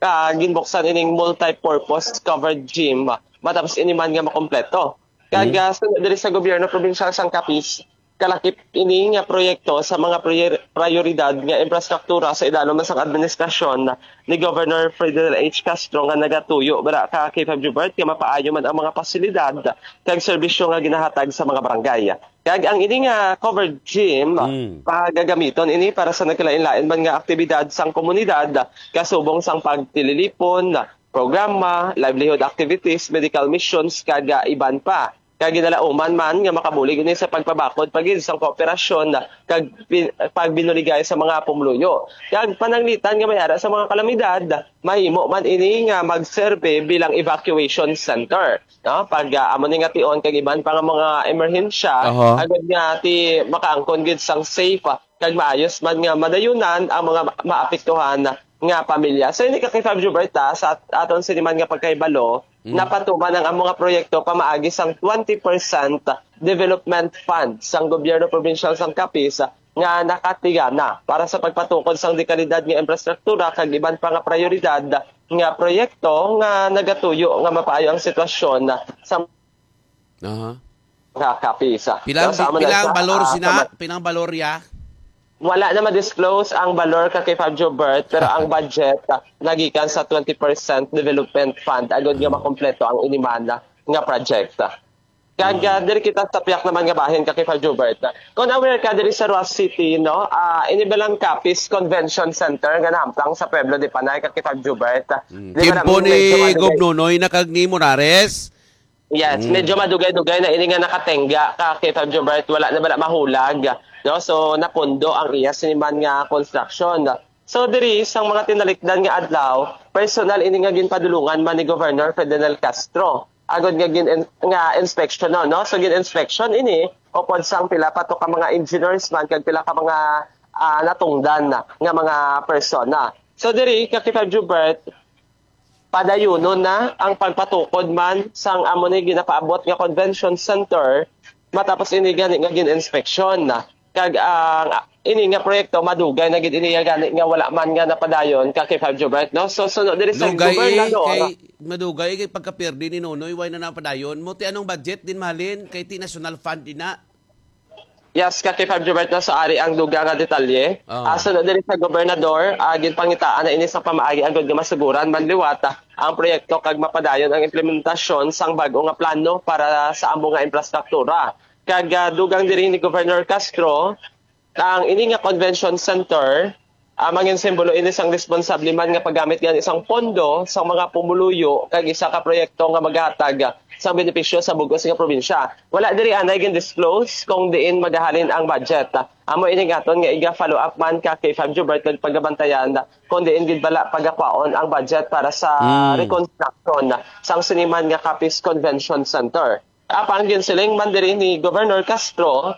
ah, ginbuksan ining multi-purpose covered gym matapos ini man nga makompleto. Kag, Mm. ah, sunod diri sa gobyerno probinsyal sang Capiz, kalakip ini nga proyekto sa mga priyor-, prayoridad nga infrastruktura sa idalom sang administrasyon ni Governor Ferdinand H. Castro nga nagatuyo bala ka K five Jubert nga mapaayo man ang mga pasilidad kag serbisyo nga ginahatag sa mga barangay. Kag ang ini nga covered gym, Mm. pagagamiton ini para sa nagkalain-lain man nga aktibidad sang komunidad, kasubong sang pagtililipon, programa, livelihood activities, medical missions, kag, ah, iban pa. Kag ginalauman man nga makabulig ini sa pagpabakod pa gid sang kooperasyon kag pin-, pagbinuligay sa mga pumuluyo. Kag pananglitan nga may ara sa mga kalamidad, mahimo man ini nga magserbe bilang evacuation center, no? Pag, ah, amo ni nga tion kag iban pa nga mga emerhensya, Aha. agud nga ti makaangkon gid sang safe, ah, kag maayos man nga madayunan ang mga ma-, maapektuhan nga pamilya. So, ini ka K five Jubert, ah, sa at-, aton sini man nga pagkahibalo, Mm. napatuman ang amo nga proyekto pamaagi sang twenty percent development fund sang gobyerno probinsyal sang Capiz, ah, nga nakatigana para sa pagpatukod sang dekalidad nga infrastruktura kag iban pa nga prayoridad nga proyekto nga nagatuyo nga mapaayo ang sitwasyon sa Aha. Nga Capiz. Pila ang, Sa amo na pila ang sa, balor ah, sina? sa ma- Pila ang balor ya? Wala na ma-disclose ang balor ka K five Jubert, pero ang budget, ah, nagikan sa twenty percent development fund agud nga makompleto ang inimana nga project. Kag, ah, diri kita sa piyak naman nga bahin ka K five Jubert. Kung aware ka diri sa Roxas City, no? Ah, ini balang Capiz Convention Center nga nahampang sa Pueblo de Panay ka K five Jubert. Mm. Di ba Tiempo namin ni medyo madugay? Gob Nonoy na kag ni Morares? Yes, Mm. medyo madugay-dugay na ini nga nakatenga ka K five Jubert, wala na bala mahulag, no? So, napundo ang iya siniman nga construction. So, diri sang mga tinalikdan nga adlaw, personal ini nga ginpadulungan man ni Governor Ferdinand Castro. Agud nga gin-, nga inspection, no? So, gin-inspection ini, upod sang pila pa to ka mga engineers man, kag pila ka mga, ah, natungdan na nga mga persona. So, diri, ka K five Jubert, padayunon na ang pagpatukod man sang amo ni ginapaabot nga convention center matapos ini gani nga gin-inspeksyon na. Kag ang ini nga proyekto madugay na gid ini gani nga wala man nga napadayon ka K five Jubert, no? So, suno diri sa Dugay, eh, gobernador. Kay madugay kay pagkapirdi ni Nonoy, way na napadayon. Mo ti anong budget din mahalin kay ti national fund din na. Yes, ka K five Jubert, no, sa ari ang dugang nga detalye. Ah. Ah, suno diri sa gobernador, ah, ginpangitaan na ini sa pamaagi agud nga masuguran man liwat, ah, ang proyekto kag mapadayon ang implementasyon sang bag-o nga plano para sa amo nga infrastruktura. Kag, ah, dugang diri ni Governor Castro, ang ini nga convention center, ah, mangin simbolo ini sang responsable man nga paggamit gani sang pondo sang mga pumuluyo kag isa ka proyekto nga maghatag sang benepisyo sa bug-os nga probinsya. Wala diri anay gin-disclose kung diin magahalin ang budget. Amo ini nga aton nga iga-follow up man ka K five Jubert, nagpagabantayan kung diin gid bala pagakwaon ang budget para sa Hmm. reconstruction sang siniman nga Capiz Convention Center. Apang ginsiling man diri ni Governor Castro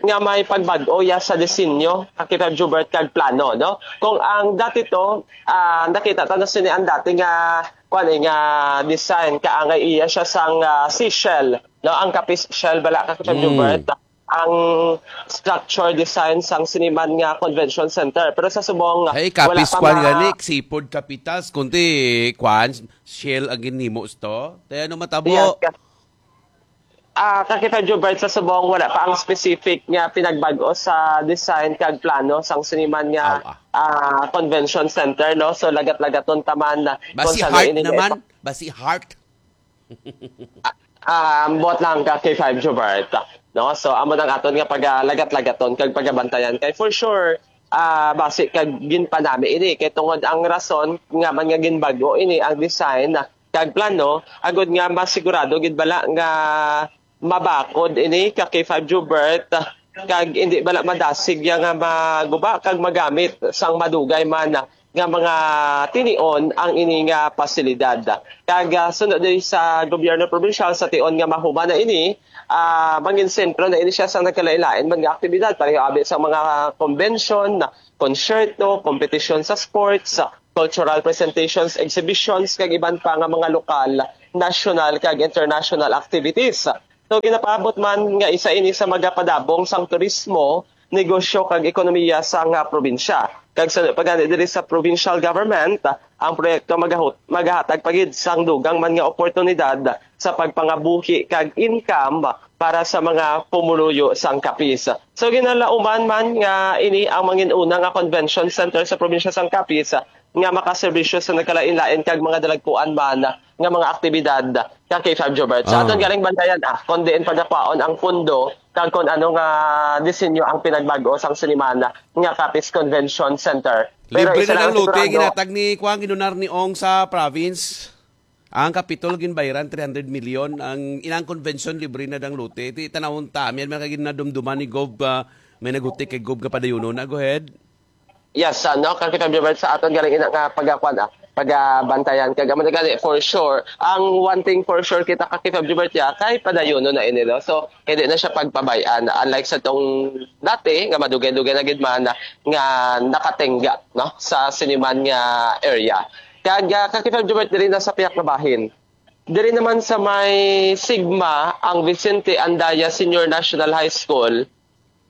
nga may pagbag-o ya sa disenyo, ka K five Jubert, kag plano, no? Kung ang dati to, ah, nakita ta na sini ang dati nga, kuwan, eh, nga design, kaangay iya siya sang, ah, seashell, no? Ang Capiz shell bala, ka K five Mm. Jubert. ang structure design sang siniman nga convention center. Pero sa subong, Ay, wala kapis pa kwan ma- gani, sipod kapitas, kundi kwan, shell ang ginhimo sto. Kaya ano matabo? Yes, ka- Ah, Kakita Jubert, sa subong, wala pa ang specific nga pinagbag-o sa design kag plano sang siniman nga, Aw, ah. ah, convention center, no? So, lagat-lagaton taman na Basi kung sa heart ini nga naman? ipa- Basi heart? Ah, buot lang ka K five Jubert, no? So, amo nang aton nga pagalagat-lagaton kag pagabantayan kay for sure, ah, basi kag ginpanami ini kay tungod ang rason nga man nga ginbago ini ang design kag plano agud nga masigurado gid bala nga mabakod ini ka K five Jubert kag indi bala madasig ya nga maguba kag magamit sang madugay man nga mga tinion ang ini nga pasilidad. Kag, ah, sunod diri sa gobyerno probinsyal, sa tion nga mahuman na ini, ah, mangin sentro na ini siya sa nagkalain-lain man nga aktibidad, pareho abi sa mga convention, konsyerto, kompetisyon sa sports, cultural presentations, exhibitions, kag iban pa nga mga lokal, national, kag international activities. So, ginapaabot man nga isa ini sa magapadabong sang turismo, negosyo, kag ekonomiya sang, ah, probinsya. Kag sa pa gani diri sa provincial government, ang proyekto magahut-, magahatag pa gid sang dugang man nga oportunidad sa pagpangabuhi kag income para sa mga pumuluyo sang Capiz. So, ginalauman man nga ini ang mangin-una nga convention center sa probinsya sang Capiz nga makaserbisyo sa nagkalain-lain kag mga dalagkuan man nga mga aktibidad ka K five Jobert. Sa Ah. aton galing bantayan, ah, kung diin pagakwaon ang pundo kag kung ano nga disenyo ang pinagbag-o sang sinimana nga Capiz Convention Center. Pero Libre isa na lang ang lote, sigurado. ginatag ni Kuan, ginunar ni Ong sa province. Ang Kapitol ginbayran three hundred million, ang inang convention libre na dang lote. Ti tanawon ta, may mga ginadumduman ni Gov, ah, may nagutik kay Gov nga padayunon na. Go ahead. Yes, ah, no, kang Kitang Jobert, sa aton galing ina nga pagakwan, ah, pagabantayan. Kag amo na gani, for sure, ang one thing for sure kita ka Kitang Jobert ya, kay padayunon na ini, no? So, hindi na siya pagpabayan. Unlike sa tong dati, nga madugay-dugay na gid man, ah, nga nakatingga, no, sa siniman nga area. Kag, ah, ka Kitang Jobert, diri na sa piyak nga bahin. Diri naman sa may Sigma, ang Vicente Andaya Senior National High School,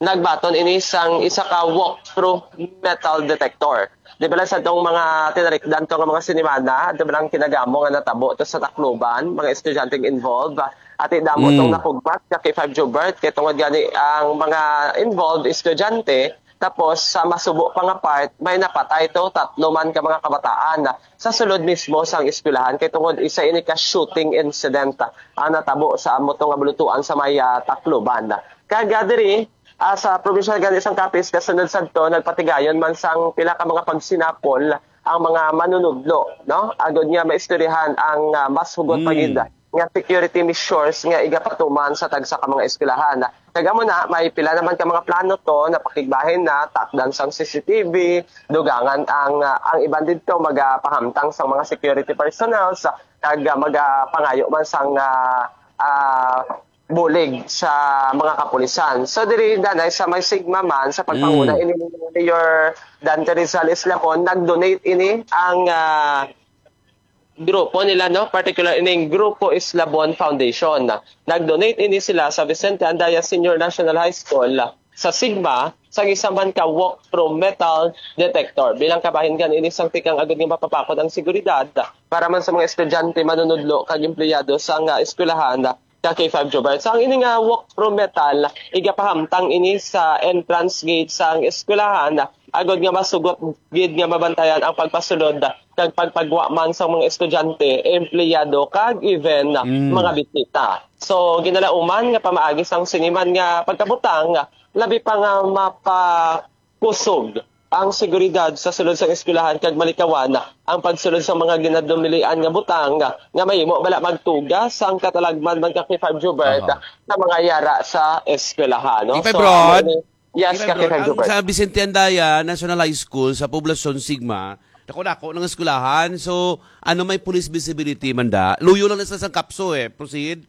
nagbaton ini sang isa ka walk-through metal detector. Di ba lang sa itong mga tinarikdan to nga mga sinimana, di ba lang kinagamo nga natabo to sa Tacloban, mga estudyanteng involved. Ati damo Mm. tong napugpat ka K five Jobert, kay tungod gani ang mga involved estudyante, tapos sa masubo pa nga part, may napatay to, tatlo man ka mga kabataan sa sulod mismo sang eskwelahan, kay tungod isa ini ka shooting incident ang natabo sa amo to nga bulutuan sa may, ah, Tacloban. Kag, ah, diri, ah, sa probinsya gani sang Capiz, kasunod sadto, nagpatigayon man sang pila ka mga pagsinapol ang mga manunudlo, no? Agod nga maistoryahan ang, ah, mas hugot pa Mm. gid nga security measures nga igapatuman sa tagsa ka mga eskwelahan. Kag amo na, may pila naman ka mga plano to, napakigbahin na, takdan sang C C T V, dugangan ang, ah, ang iban didto magapahamtang sang mga security personnel, sa, kag, ah, magapangayo man sang, ah, ah, bulig sa mga kapulisan. So, diri, danay, sa may Sigma man, sa pagpanguna Mm. ini ni Mayor Dante Rizal Islacon, nag-donate ini ang, ah, grupo nila, no? Particular ining Grupo Islabon Foundation. Nag-donate ini sila sa Vicente Andaya Senior National High School sa Sigma sa isa man ka walk-through metal detector. Bilang kabahin kan ini sang tikang agud nga mapapakot ang seguridad para man sa mga estudyante, manunudlo, kag empleyado sa nga eskwelahan ka K five Jobert. So, ang ini nga walk-through metal, igapahamtang ini sa entrance gate sang eskwelahan, agud nga masugot gid nga mabantayan ang pagpasulod kag pagpagwa man sa mga estudyante, empleyado, kag even Mm. mga bisita. So, ginalauman nga pamaagi sang siniman nga pagkabutang, labi pa nga mapakusog ang seguridad sa sulod sang eskwelahan kag malikawan ang pagsulod sa mga ginadumilian nga butang nga mahimo bala magtuga sang katalagman man ka K five Jobert Aha. sa mga yara sa eskwelahan, no? K five So, Rod? ano ni-, yes, K five ka Rod, K five ang Jobert. sa Vicente Andaya National High School sa Poblacion Sigma, dako-dako ng eskwelahan. So, ano may police visibility man da? Luyo lang na sa isang kapso eh. Proceed.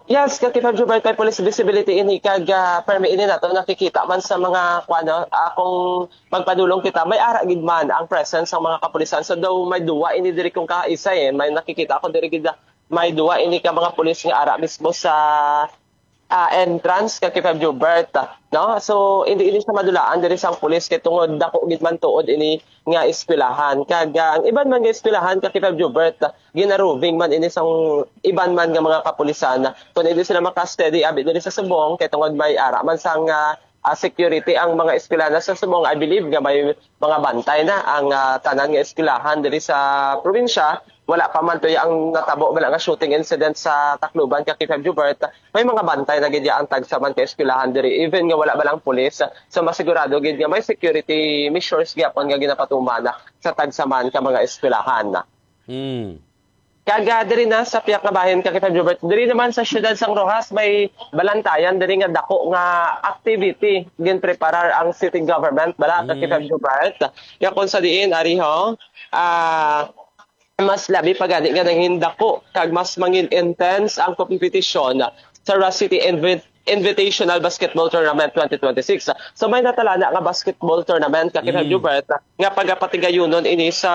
Yes, Kati Fab Jubert, may police visibility ini kag, ah, permi ini nato nakikita man sa mga, kuwan, no, ah, kung magpadulong kita, may ara gid man ang presence sa mga kapulisan. So, daw may duwa ini diri kung kaisa, eh. May nakikita ako diri gid, ah, may duwa ini ka mga pulis nga ara mismo sa ah, entrance ka K five Jubert, no? So, hindi ini siya madulaan diri sang pulis kay tungod dako gid man tuod ini nga eskwelahan. Kag, ah, ang iban man nga eskwelahan ka K five Jubert, ginaroving man ini sang iban man nga mga kapulisan. Kung hindi sila maka-steady abi diri sa Subong kay tungod may ara man sang, ah, ah, security ang mga eskwelahan sa Subong, I believe nga may mga bantay na ang, ah, tanan nga eskwelahan diri sa probinsya. Wala pa man tuyo ang natabo bala nga shooting incident sa Tacloban ka K five Jubert. May mga bantay na gid ang tagsa man ka eskwelahan diri, even nga wala ba lang pulis. So, masigurado gid nga may security measures gyapon nga ginapatuman sa tagsa man ka mga eskwelahan. Hmm. Kag, ah, diri na sa piyak nga bahin ka K five Jubert, diri naman sa siyudad sang Roxas may balantayan diri nga dako nga activity ginpreparar ang city government bala ka K five Jubert. Nga kung sa diin, ari ho, ah, mas labi pa gani nga nangin dako kag mas mangin intense ang kompetisyon sa Roxas City Invi-, Invitational Basketball Tournament twenty twenty-six. So, may natalana nga basketball tournament ka K five Jubert nga pagapatigayunon ini sa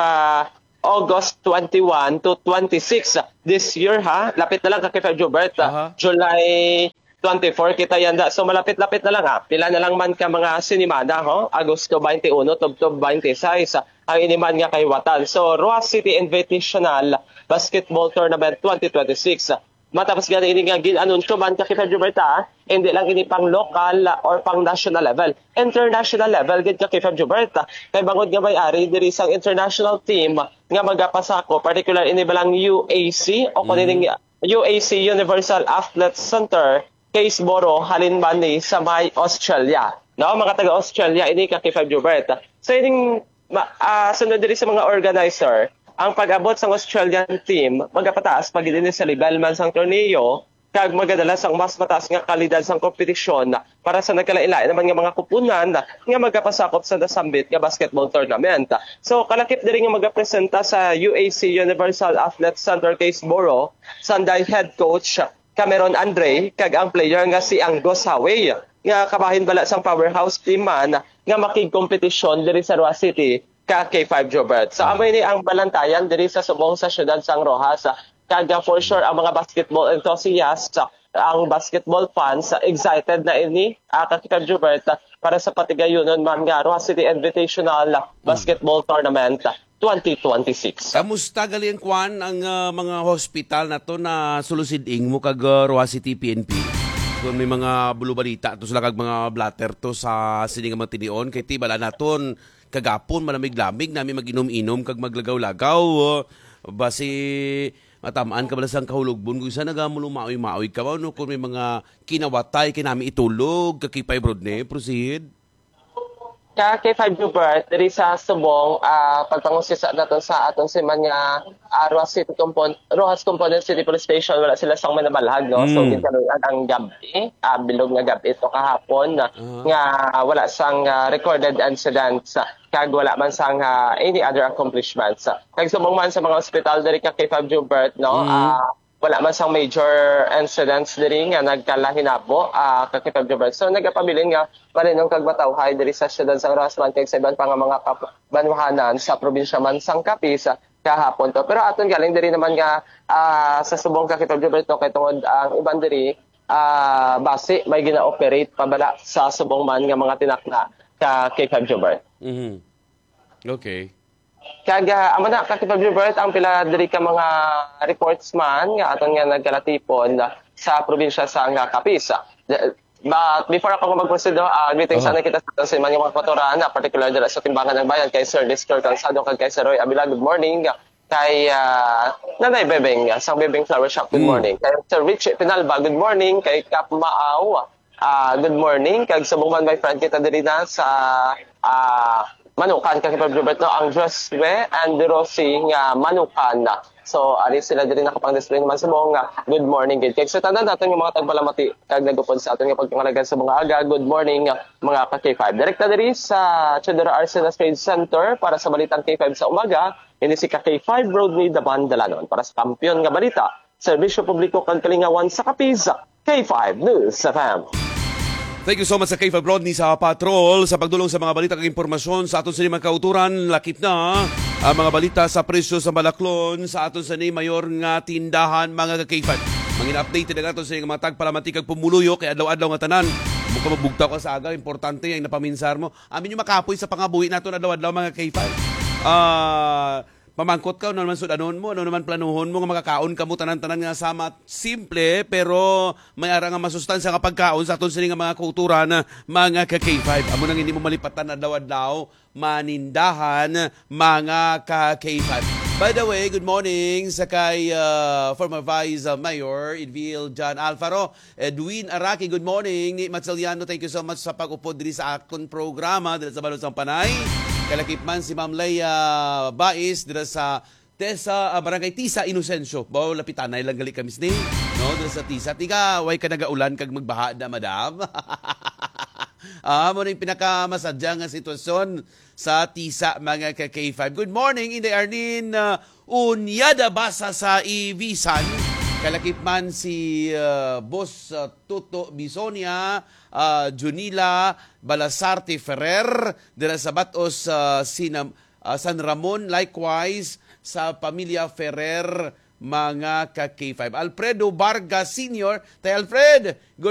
August twenty-one to twenty-six this year, ha. Lapit na lang ka K five Jubert, ah, Aha. July twenty-four kita yanda. So, malapit-lapit na lang, ha. Pila na lang man ka mga sinimana, ho? Agosto twenty-one, tubtob twenty-six, ang ini man nga kahiwatan. So, Roxas City Invitational Basketball Tournament twenty twenty-six. Matapos gani ini nga gin-anunsyo man ka K five Jubert, ha, hindi lang ini pang local or pang national level, international level gid ka K five Jubert. Kay bangod nga may ari diri sang international team nga magapasakop, particular ini balang U A C o kung ining U A C Universal Athlete Center, Kaysborough, halin man ni sa may Australia. No, mga taga Australia ini ka K five Jubert. So ining ma-, ah, sunod diri sa mga organizer, ang pag-abot sang Australian team magapataas pa gid ini sa level man sang torneo kag magadala sang mas mataas nga kalidad sang kompetisyon para sa nagkalain-lain naman nga mga kupunan nga magapasakop sa nasambit nga basketball tournament. So, kalakip diri nga magapresenta sa U A C Universal Athlete Center Kaysborough, Sanday head coach Cameron Andre, kag ang player nga si Angus Hawey, nga kabahin bala sang powerhouse team man nga makigkompetisyon diri sa Roxas City ka K five Jobert. So, amo ini ang balantayan diri sa subong sa siyudad sang Roxas. Kag, uh, for sure, ang mga basketball enthusiasts, uh, ang basketball fans, uh, excited na ini, uh, ka K five Jobert, uh, para sa patigayunon man nga Roxas City Invitational, uh, Basketball Tournament, uh, twenty twenty-six. Kamusta gali ang kwan, ang, uh, mga hospital nato na sulusid ing mo kag, uh, Roxas City P N P? Kung may mga bulubalita to sila kag mga blotter to sa sini nga mga tinion, kay ti bala naton kagapon, malamig-lamig nami mag-inom-inom kag maglagaw-lagaw. Basi matamaan ka bala sang kahulogbon kung isa nagamulo maoy-maoy ka ba, no? Kung may mga kinawatay kay nami itulog, ka K five Rodney, proceed. Ka K five Hubert, diri sa Subong, ah, pagpangusisa naton sa aton siman nga, ah, Roxas City Compon-, Roxas Component City Police Station, wala sila sang manabalhag, no? So, Mm. ginkaluy-an ang gab-i, ah, bilog nga gab-i to kahapon, Aha. nga wala sang, ah, recorded incidents, ah, kag wala man sang, ah, any other accomplishments. Kag subong man sa mga ospital diri ka K five Hubert, no? Mm. Ah, wala man sang major incidents diri nga nagkalahinabo, ah, ka K five Hubert. So, nagapabilin nga malinong kag matawhay diri sa siyudad sang Roxas man kag sa iban pa nga mga kap-, banwahanan sa probinsya man sang Capiz, ah, kahapon to. Pero aton galing diri naman nga, ah, sa subong ka K five Hubert, no, kay tungod ang iban diri, ah, basi may gina-operate pa bala sa subong man nga mga tinakna ka K five Hubert. Mhm. Okay. Kag, ah, amo na, ka K five Hubert, ang pila diri ka mga reports man nga aton nga nagkalatipon sa probinsya sa nga Capiz. But before ako mag-proceed, no, ah, greetings Aha. sana kita sa aton siman nga mga kapaturan, ah, particular dira sa Timbangan ng Bayan, kay Sir Nestor Calzado kag kay Sir Roy Abila. Good morning. Kay, ah, Nanay Bebeng, ah, sa Bebeng Flower Shop, good Mm. morning. Kay Sir Richie Pinalba, good morning. Kay Kap Maaw, ah, good morning. Kag subong man, my friend, kita diri na sa, ah, Manukan, kag Hubert, no, ang Josue and Rosie nga Manukan. So, ari sila diri nakapang-display naman subong nga good morning gid. Kag sa tanan naton nga mga tagpalamati, kag nagupod sa aton nga pagpangalagan sa mga aga, good morning, mga ka K five. Direkta diri sa Teodoro Arcenas Trade Center para sa Balitang K five sa umaga. Ini si ka K five Rodney Daban Dalanon para sa Kampiyon nga Balita, Serbisyo Publiko kag Kalingawan sa Capiz, K five News F M. Thank you so much sa K five Rodney sa patrol, sa pagdulong sa mga balita kag impormasyon sa aton sa mga kauturan. Lakip na ang mga balita sa presyo sa Balaklon sa aton sa ni mayor nga tindahan, mga ka K five. Mangin updated ang ato sa mga tagpalamati kag pumuluyo kay adlaw-adlaw nga tanan. Mo ka mabugtaw ka sa aga, importante ang napaminsar mo. Amin yung makapoy sa pangabuhi naton adlaw-adlaw, mga K five. Ah, pamangkot ka, ano naman sudanon mo, ano naman planuhon mo nga makakaon kamo tanan-tanan nga sama, simple pero may ara nga masustansya nga pagkaon sa aton sini nga mga kultura na mga ka K five. Amo nang hindi mo malipatan adlaw-adlaw manindahan, mga ka K five. By the way, good morning sa kay, ah, former Vice, ah, Mayor Edvil John Alfaro. Edwin Araki, good morning. Ni Matsiliano, thank you so much sa pag-upod diri sa akon programa diri sa Balon sang Panay. Kalakip man si Ma'am Leia Bais dira sa Tesa, ah, Barangay Tisa, Inocencio. Baw, lapitanay lang gali kami sini, no? Dira sa Tisa. Tiga, way ka nagaulan kag magbaha na, madam? Ah, mo ning pinakamasadya nga sitwasyon sa Tisa, mga ka K five. Good morning, Inday Arlene, ah, Unyada Basa sa Ibisan. Kalakip man si, ah, Boss, ah, Tuto Bisonia, ah, Junila Balasarte Ferrer, dira sa Batos, ah, Sinam-, ah, San Ramon. Likewise, sa pamilya Ferrer, mga ka K five. Alfredo Vargas Senior, Tay Alfred,